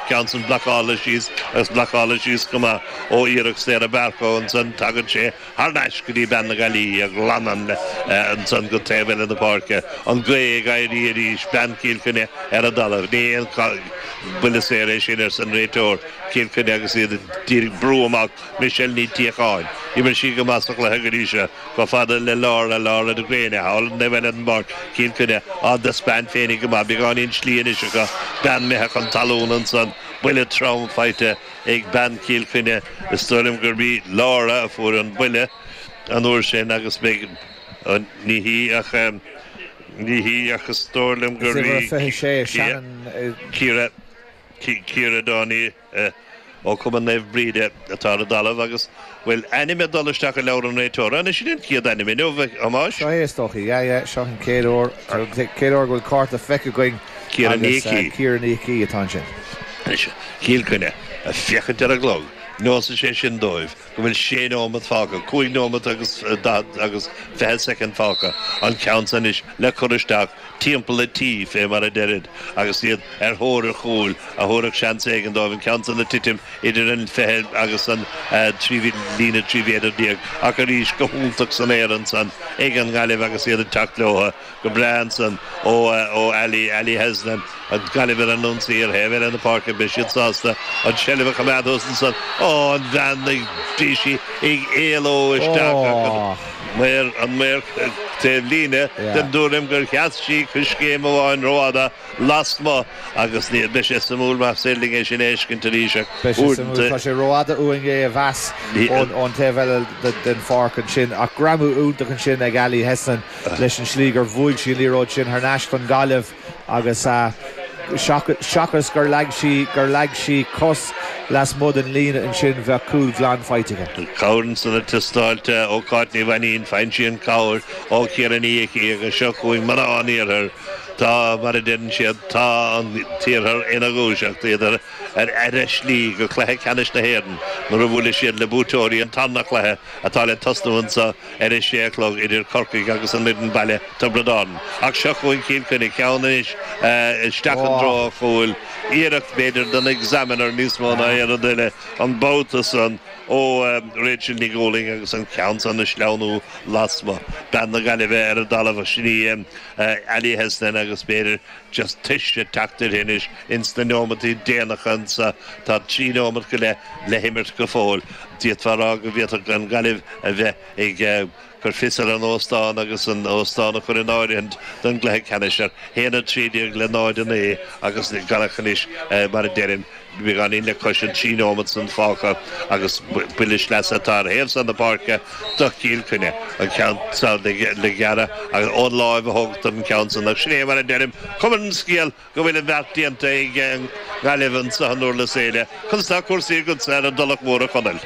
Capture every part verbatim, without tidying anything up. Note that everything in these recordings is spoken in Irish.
Ceann san blocáilte síos agus blocáilte síos go maith ó iarracht Sarah Barcoe ansan tagann sé thar n-ais go dtí bean na Gaillimhe a ghlanann ansan go taobh eile na páirce. An ghaoth ag éirí arís, bean Chill Chainnigh ar an dtalamh. Ní haon buille saor é sin arsa an réiteoir. Cill Chainnigh agus iad d'iarraidh brú amach Michelle Ní Tíocháin. D'imir sí go maith sa chluiche go dtí seo, chomh fada le Laura, Laura de Gréine, thall an taobh eile den bpáirc, Cill Chainnigh á dtaispeáint féinig go maith, beagáinín slí anois acu, bean imithe chun talún ansan, buille trom faighte ag bean Chill Chainnigh, is dóigh liom gurb í Laura a fuair an buille an uair sin agus beidh, ní hí ach, ní hí ach is dóigh liom gurb í Ciara, Ciara Downey. Ó Chumann Naomh Bríde atá ar an dtalamh agus bhfuil ainm ag dul isteach i leabhar an réiteora. Anois sin an chéad ainm inniu, a Thomáis. Seo é is dócha. Yeah, yeah, seo an chéad uair, chéad uair go bhfuil cárta feicthe againn Ciara Ní agus Ciara Ní Icí atá ansin. Anois, Cill Chainnigh ag féachaint ar an gclog. Neosfaidh sé sin dóibh go bhfuil sé nóimeat fágtha, cúig nóimeat agus daichead agus fiche soicind fágtha, an ceann san anois le cur isteach timpeall an tí, fé mar a deirid, agus iad ar thóir an chúil a thabharfadh seans éigin dóibh an ceann san ag titim idir an fiche agus an trí líne trí mhéadar déag ach arís go hiontach san aer ansan ag an nGaillimh agus iad ag teacht leo go breá ansan ó ó Ali, Ali Hesnan. An Ghaillimh ar an ionsaí ar thaobh eile na páirce, beidh siad sásta an tseilbh a choimeád thuas ansan. Ó, an bhean ag, bhí sí ag éaló isteach ach an maor, an maor taobh líne den dtuairim gur sheas sí coiscéim amháin rófhada lasmuigh agus ní, beidh sé suimiúil más féidir linn é sin a fheiscint arís ach Beidh sé suimiúil, uaireanta. tá sé rófhada uainn é a mheas ón taobh eile den pháirc ansin ach greamú iontach ansin ag Ali Hesnan leis an slí gur bhuaigh sí an liathróid sin thar n-ais don Ghaillimh. Agus seachas gur leag sí gur leag sí cos lasmuigh den líne ansin, bheadh cúl glan faighte aici. Cabhair ansan ag teastáil ó Cáit Ní Mhainnín, faigheann sí an cabhair ó Chiara Ní Icí agus seo chugainn mná an iarthair. Tá, mar a deireann siad, tá an t-iarthar ina dhúiseacht, iad ar ar a slí go cluiche ceannais na hÉireann nuair a bhuailfidh siad le buaiteoirí an tarna cluiche atá le tosnú anseo ar a sé a chlog idir Corcaigh agus an fhoireann baile Tiobraid Árann. Ach seo chugainn Cill Chainnigh, ceann anois isteach i dtreo an chúil, iarracht b'fhéidir don Examiner níos mó ná aon rud eile an babhta san ó Rachel Ní Dhúlaing agus an ceann san ag sleamhnú lasmuigh. Bean na Gaillimhe ar an dtalamh, sin í Ali Hesnan agus b'fhéidir just tuirse ag teacht uirthi anois ins na neomataí déanacha anso. Tá trí neomat go leith le himirt go fóill. D'fhéadfá a rá go bhféadfadh an Ghaillimh a bheith ag cur fios ar an óstán agus an óstán a chur in áirithint don gcluiche ceannais ar haon a trí déag le náid a naoi agus gan ach anois, mar a deirim, beagáinín le cois an trí nóimeat san fágtha agus buille sleasa atá ar thaobh san na páirce do Chill Chainnigh, an ceann san le gearradh agus ón láimh a thógtar an ceann san ach sin é mar a deirim, cuma ar an scéal go bhfuil an bheart déanta ag an nGaillimh anso in Durlas Éile. Conas tá cúrsaí agatsa ar an dTulach Mhór, a Chonaill?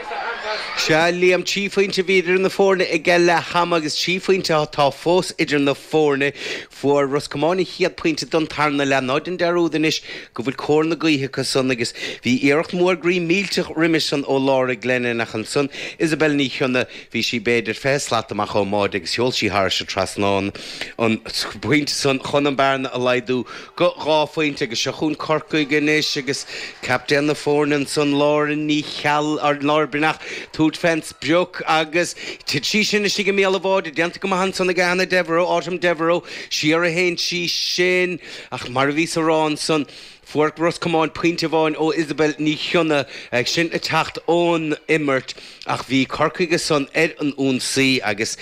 Sea, Liam, trí phointe a bhí idir na foirne ag leath ama agus trí phointe atá fós idir na foirne. Fuair Ros Comáin an chéad pointe don tarna leath. Ná déan dearúd anois go bhfuil cóir na gaoithe acu san agus bhí iarracht mhór groí millteach roimis san ó Laura Glennon ach ansan Isabel Ní Chionnaith, bhí sí b'fhéidir fiche slat amach ón mbáide agus sheol sí thairis an trasnán an pointe san chun an bearna a laghdú go dhá phointe agus seo chugainn Corcaigh anois agus captaen na foirne ansan Laura Ní Cheallaigh, or Laura Breathnach, tabhairt fén sprioc agus tit sí sin istigh i mbéal an bháide, déanta go maith ansan ag Anna Devereux, Autumn Devereux, siar a théann sí sin ach mar a bhíos a rá ansan, fuair Ros Comáin pointe amháin ó Isabel Ní Chionnaith, sin ag teacht ón imirt ach bhí Corcaigh ansan ar an ionsaí agus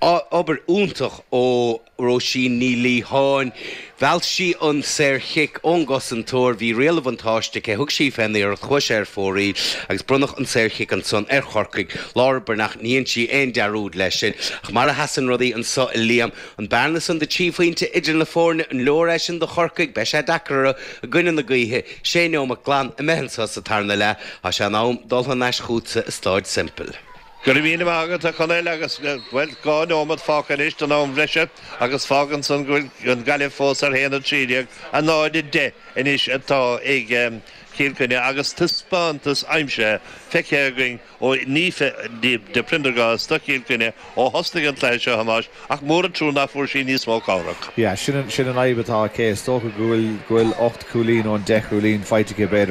obair iontach ó Róisín Ní Liatháin. Mheall sí an saorchic ón gcosantóir, bhí riail an bhuntáiste aici, thug sí fén iarracht, chuaigh sé ar fóraoil agus bronnadh an saorchic ansan ar Chorcaigh. Laura Breathnach, ní dhein sí aon dearúd leis sin. Ach mar a sheasann rudaí anso a Liam, an bearna san de trí phointe idir na foirne, an leor é sin do Chorcaigh? Beidh sé deacair orthu i gcoinne na gaoithe. Sé neomat glan imithe anso sa tarna leath. Tá sé in am dul thar n-ais chughatsa i Stáid Semple. Go raibh míle maith agat a Chonaill agus bhuel dhá nóiméad fágtha anois don am bhreise agus fágann san go bhfuil an Ghaillimh fós ar haon a trí déag a náid a deich anois atá ag Cill Chainnigh agus taispeántas aimsithe feicthe againn ó Niamh de Prendergast do Chill Chainnigh ó thosnaigh an cluiche seo a Thomáis ach mór an trua nach bhfuair sí níos mó cabhrach. Yeah, sin sin an fhadhb atá aici is dócha go bhfuil go bhfuil ocht cúilín ón deich cúilín faighte b'fhéidir